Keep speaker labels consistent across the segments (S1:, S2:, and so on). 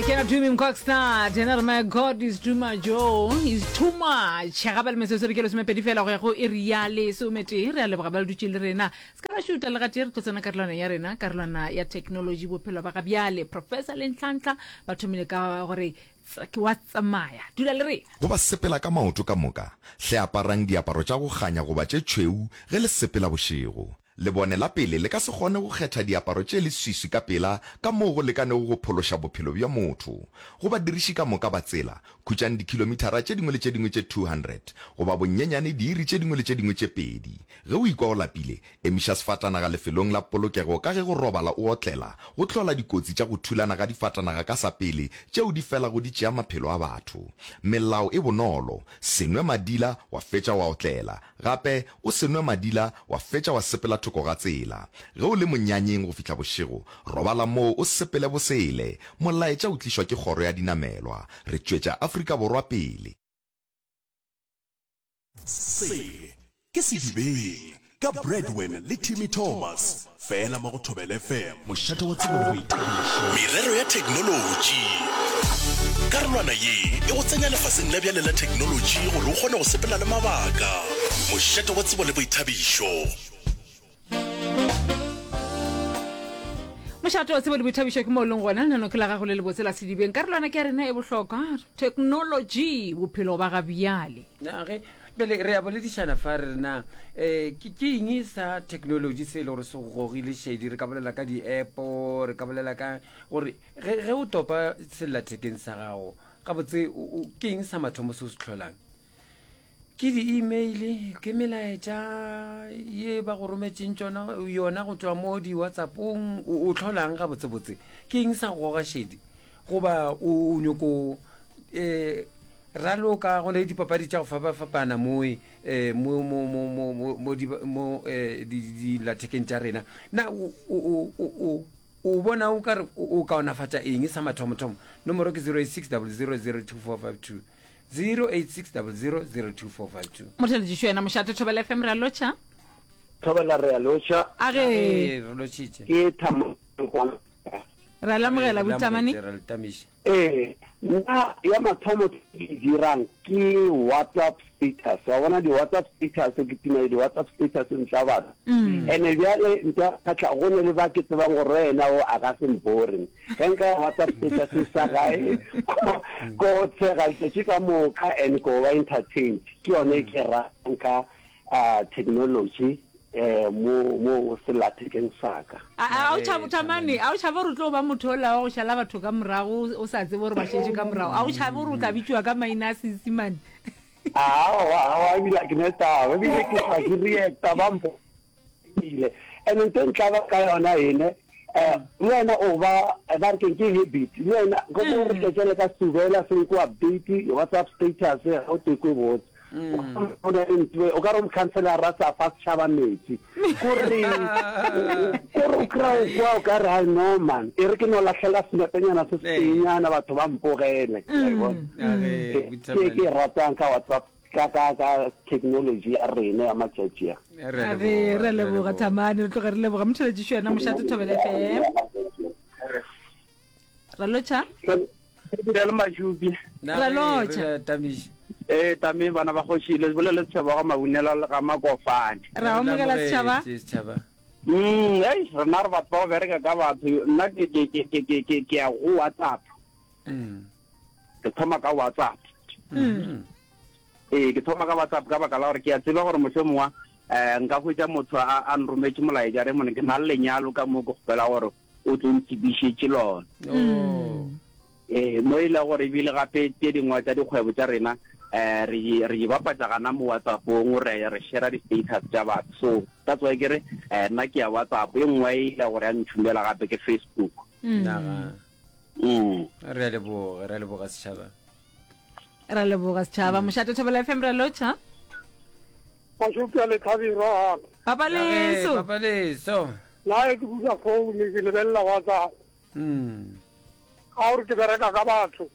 S1: Ke na Dumi Mkokstad, yena re my God is too much, oh, is too much. Gape le metsotso re ke lesomepedi fela go ya go iri ya lesometee. Re a leboga ba le dutše le rena. Se ka la šuta le gatee re tlo tsena karolwana ya rena, karolwana ya technology, bophelo ba ga bjale. Professor le Nhlanhla ba thomile ka gore ke wa tsamaya. Dula le rena.
S2: Go ba sepela ka maoto ka moka, hle aparang diaparo tša go kganya goba tše tšhweu ge le sepela bošego. Lebone la pele le ka se kgone go kgetha diaparo tše leswiswi ka pela ka moo go lekanego go phološa bophelo bja motho. Go badiriši ka moka ba tsela, khutšang dikhilomithara tše dingwe le tše dingwe tše 200, goba bonyenyane diiri tše dingwe le tše dingwe tše pedi. Ge o ikwa o lapile, emiša sefatanaga lefelong la polokego ka ge go robala o otlela go hlola dikotsi tša go thulana ga difatanaga ka sa pele tšeo di felago di tšea maphelo a batho. Melao e bonolo, se nwe madila wa fetša wa otlela. Gape, o se nwe madila wa fetša wa sepela thoko ga tsela. Ge o le monyanyeng go fihla bošego, robala moo o sepele bosele. Molaetša o tlišwa ke Kgoro ya Dinamelwa. Re tšwetša Afrika Borwa pele.
S3: Se ke Sedibeng ka Bradwin le Timmy Thomas, fela mo go Thobela FM, mošate wa tsebo le boithabišo.
S4: Merero ya theknolotši. Karolwana ye e go tsenya lefaseng la bjale la theknolotši gore o kgone go sepela le mabaka. Mošate wa tsebo le boithabišo.
S1: Mošate wa tsebo le boithabišo ke mo o leng gona. Lenaneo ke la gago le lebotse la Sedibeng. Karolwana ke ya rena e bohlokwa, theknolotši, bophelo ba ga bjale.
S5: Na ge bjale re a boledišana fa re re na um ke ke eng sa technology se e le gore se go gogile šedi? Re ka bolela ka di-app-o, re ka bolela ka gore ge ge o topa sellathekeng sa gago gabotse o- o- ke eng sa mathomo se o se hlolang? Ke di-email, ke melaetša ye ba go rometšeng tšona yona go tšwa mo di-WhatsApp-ong, o, o hlolang gabotsebotse? Ke eng sa go goga šedi? Goba o, o nyoko um raloka go ne dipapadi tša go fapafapana mo eh, mo mo mo mo mo mo di mo eh, di dillathekeng tša rena. Na o o o o o o bona o ka re o kaonafatša eng sa mathomothomo? Nomoro ke 086 000 2452. 086 000 2452.
S1: Motheletšišo yena mošate Thobela FM re a lotšha.
S6: Thobela re a lotšha.
S1: A ge.
S5: Re lotšhitše.
S6: Ke Thamo.
S1: Re a lamogela Butamane.
S5: Re le tamiše.
S6: Ee, nna ya mathomo ke e dirang ke WhatsApp status. Wa bona di-WhatsApp status, ke tima di-WhatsApp status ntla batho. Ene bjale nto ya kgatlha go ne le ba ke tsebang gore yena o a ka se mpore. Ge nka ya WhatsApp status sa gae ko tshega letšatši ka moka and ko ba entertained. Ke yone e ke ratang ka technology mo mo sellathekeng sa ka.
S1: A o tšhabe Thamane, a o tšhabe gore o tlo ba motho ola wa go šala batho ka morago o sa tsebe gore ba šetše ka morago? A o tšhabe gore o tla bitšiwa ka maina a Seisimane?
S6: Aowa, aowa, ebile ga ke ne taba, ebile ke hlwa ke reacta ba mpile. And ntho e ntlaba ka yona ene, um le wena o ba, ba re keng ke habit, le wena go re tletšele ka setubela se ko update WhatsApp status ga o tekwe botse. O na le ntwe o ka re mokhanselara a sa fa setšhaba metsi kore kore o kry-a o kwa o ka re hai no man e re ke no lahlela senepenyana se setenyana batho ba mpogele ke ke ratang ka WhatsApp ka ka ka technology ya rena ya matšatši a.
S1: A re re leboga Thamane re tloge re leboga motheletšišo yena mošate Thobela FM. Ra lotšha.
S7: Re le majubi.
S1: Ra lotšha.
S7: Ee, tame bana ba kgoši le bolele setšhaba ga Mabunela le ga Makofane.
S1: Ra amogela setšhaba.
S7: Mm, ei, rena re batho ba go bereka ka batho. Nna ke ke ke ke ke ke ke ya go WhatsApp. Mm. Ke thoma ka WhatsApp. Mm. Ee, ke thoma ka WhatsApp ka baka la gore ke a tseba gore mohlomongwe eh nka hwetša motho a a nrometše molaetša re mone ke na le lenyalo ka mo ke kgopela gore o tlo ntsebišetše lona.
S5: Oh.
S7: Ee, mo e le gore ebile gape tše dingwe tša dikgwebo tša rena um re di re di bapatša gana mo WhatsApp-ong, re re share di-status tša batho. So that's why ke re um nna ke ya WhatsApp, e nngwe e ile gore ya ntšhumela gape ke Facebook.
S5: Naga.
S7: Mm.
S5: Re a leboga, re a leboga setšhaba.
S1: Ra leboga setšhaba. Mošate Thobela FM ra lotšha.
S8: Mašupja le Thabirwa.
S1: Papa Leso.
S5: Papa Leso.
S8: Nna ge ke bula phone ke lebelela WhatsApp.
S5: Mm.
S8: Ka gore ke bereka ka batho.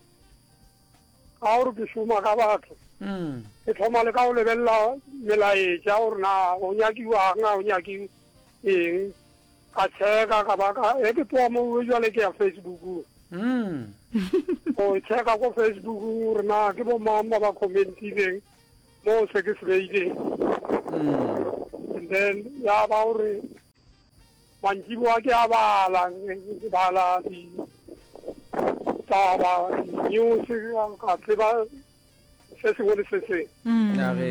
S8: Ka gore ke šoma ka batho.
S5: Mm.
S8: Ke thoma le ka go lebelela melaetša gore na go nyakiwang a go nyaki eng. Ka checka ka ba ka ge ke tloga mo jwale ke ya Facebookong. Go checka ko Facebook gore na ke bo mang ba ba commentileng mo se ke se beileng. And then ya ba gore mantšiboa ke a bala, ke bala ditaba, di-news, ka tseba se sengwe le se sengwe.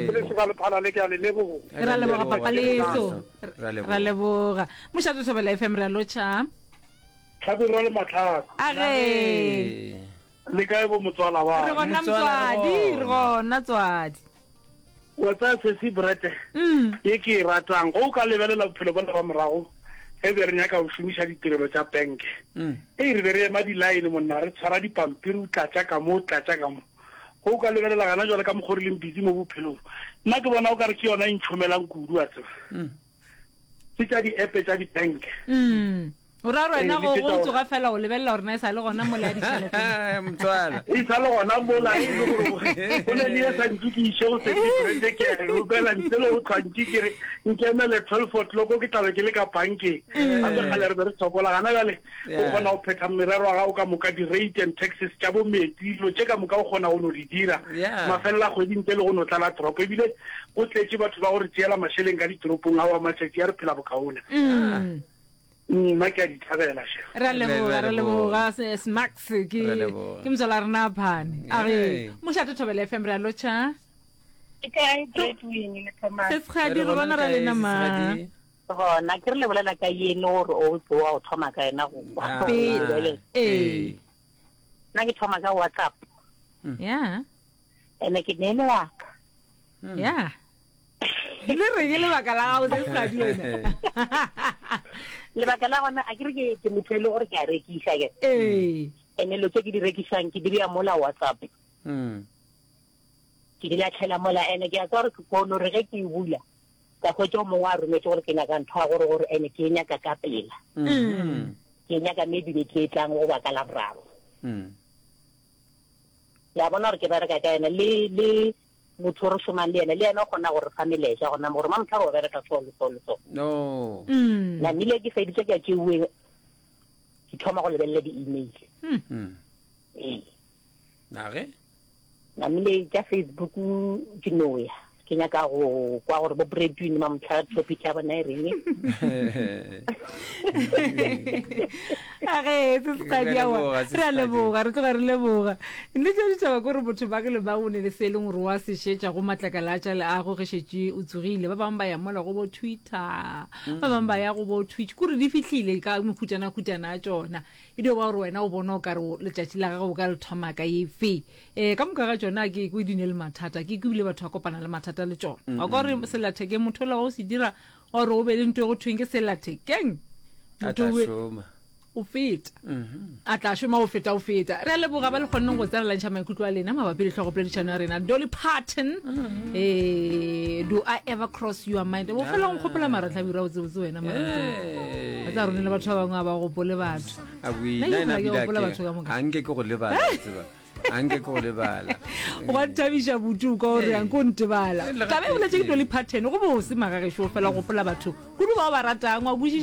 S8: Ke le soka lephala le ke a le leboga.
S1: Ra leboga papa leso. Ra leboga. Mošate Thobela FM re a lotšha.
S8: Hlabirwa le Matlhako.
S1: A ge.
S8: Le kae bo motswala wa?
S1: Re gona motswadi, re gona tswadi.
S8: Wa tsaya sesi Brete ye ke e ratang. Go o ka lebelela bophelo bola ba morago ge be re nyaka go šomiša ditirelo tša penke. Ei re be re ema di-line monna re tshwara dipampiri o tlatša ka mo o tlatša ka mo. Go o ka lebelela gana jwale ka mokgo re leng busy mo bophelong. Nna ke bona o ka re ke yona e ntšhomelang kudu wa tseba. Ke tša di-app tša di-bank.
S1: O ra gore wena go go tsoga fela o lebelela gore na e sa le gona mola ya ditšhelete.
S5: Motswala.
S8: E sa le gona mola e le gore go ne le ye sa ntse ke iše go setirete ke a e romela ntle le go tlhwa ntse ke re nkemele 12 o'clock ke tlabe ke le ka bankeng. Gape kgale re be re sokola gana bjale o kgona go phetha merero ya gago ka moka di-rate and taxes tša bo metsi dilo tše ka moka o kgona go no di dira mafelelo a kgwedi ntle le go no tlala toropo ebile go tletše batho ba go re tšeela mašeleng ka ditoropong aowa matšatši a re phela bokaone. Nna ke a di thabela she.
S1: Re a leboga, re leboga Smax ke ke motswala rena phane. A re mošate Thobela FM re a lotšha.
S9: Ke kae Bradwin le Thomas?
S1: Sesgadi re bona ra lena ma.
S9: Gona ke re le bolela ka yene gore o tsoa o thoma ka yena go.
S1: Pele. Ee.
S9: Nna ke thoma ka WhatsApp.
S1: Yeah.
S9: Ene ke ne lebaka.
S1: Yeah. Le re ke lebaka la gago se sa di wena.
S9: Lebaka la gona a ke re ke ke motho e le gore ke a rekiša ke.
S1: Ee.
S9: Ene lo tse ke di rekišang ke di beya mola WhatsApp.
S5: Mm.
S9: Ke di latlhela mola ene ke a tswa gore ke kono re ge ke e bula ka hwetša o mongwe a rometse gore ke nyaka ntho ya gore gore ene ke e nyaka ka pela.
S5: Mm.
S9: Ke e nyaka maybe beke e tlang goba ka Laboraro.
S5: Mm.
S9: Le a bona gore ke bereka ka ena le le motho o re šomang le yena le yena o kgona go re fa melaetša gona mo gore mamotlhare o bereka so le so le so.
S5: No.
S1: Mm.
S9: Namile ke feditše ke a tšeuwe ke thoma go lebelela di-email.
S5: Mm.
S9: Ee.
S5: Na ge?
S9: Namile tša Facebook ke no ya ke nyaka go kwa gore bo Bradwin mamotlhare topic ya bona e reng.
S1: A ge se se
S5: Re a
S1: aowa
S5: leboga, se
S1: re a
S5: se
S1: leboga re tloga re leboga nnete ya ditaba ke gore motho bake le bang o ne le se e leng gore wa se šetša go matlakala a tša leago ge šetše o tsogile ba bangwe ba ya mola go bo twitter ba bangwe ba ya go bo twitch kore di fihlile ka mehutana-hutana a tšona e dio ba gore wena o bona o ka re letšatši la gago o ka le thoma ka efe um ka moka ga tšona ke kwe di ne le mathata ke kwe ebile batho ba kopana le mathata le tšona wa kwa gore sellathekeng motho ola wa o se dira Gore o be le nto e go thweng ke sellathekeng.
S5: A tla šoma.
S1: O feta. A tla šoma o feta o feta. Re a leboga ba le kgonneng go tsena la ntšha maikutlo a lena mabapi le hlogopoledišano ya rena. Dolly Parton. Eh, do I ever cross your mind? O fela o nkgopola mara Hlabirwa o tsebotse wena mara. Wa tseba rone le batho ba bangwe ga ba gopole batho.
S5: A bui,
S1: Nna
S5: nna
S1: ke
S5: ena
S1: gopola ke
S5: bile
S1: gopola
S5: a ke-
S1: batho ka moka.
S5: a nke ke go lebala, wa tseba. A nke ke go lebala.
S1: Gwa nthabiša buti o kwa o re anke o ntebala.
S5: Le
S1: Taba e boletse ke
S5: gatee.
S1: Dolly Parton go bose magagešo o fela o gopola batho kudu ba o ba ratang wa kwešiša.